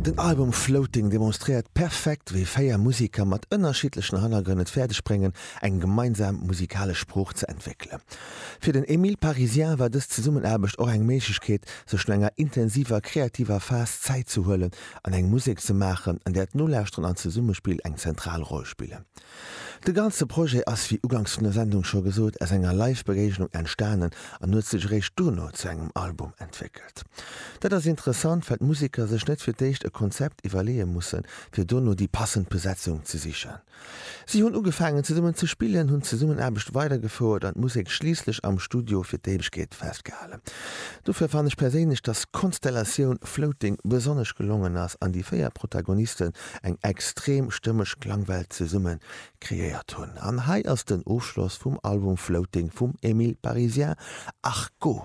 Den Album Floating demonstréiert perfekt, wéi 4 Museker mat ënnerschiddlechen Hannergrënn et fäerdeg bréngen, eng gemeinsam musikalesch Sprooch ze entwéckelen. Fir den Émile Parisien war dës Zesummenaarbecht och eng Méiglechkeet, sech no enger intensiver kreativer Phas Zäit ze huelen an eng Musek ze maachen, an där d'Nolauschteren an d'Zesummespill eng zentral Roll spillen. De ganze Projet ass, wéi uganks vun der Sendung scho gesot, aus enger Live-Begéignung entstanen an huet sech eréischt dono zu engem Album entwéckelt. Dat ass interessant, well d'Museker sech net fir d'éischt e Konzept iwwerleeë mussen, fir dono déi passend Besetzung ze sichen. Si hunn ugefaangen zesummen ze spillen, hunn d'Zesummenaarbecht weidergefouert an d'Musek schliisslech am Studio fir d'Éiwegkeet festgehalen. Dofir fannen ech perséinlech, dass d'Konstellatioun Floating besonnesch gelongen ass an déi 4 Protagonisten eng extrem stëmmeg Klangwelt zesumme kreéiert hunn. An hei ass den Ofschloss vum Album Floating vum Emile Parisien, Arco.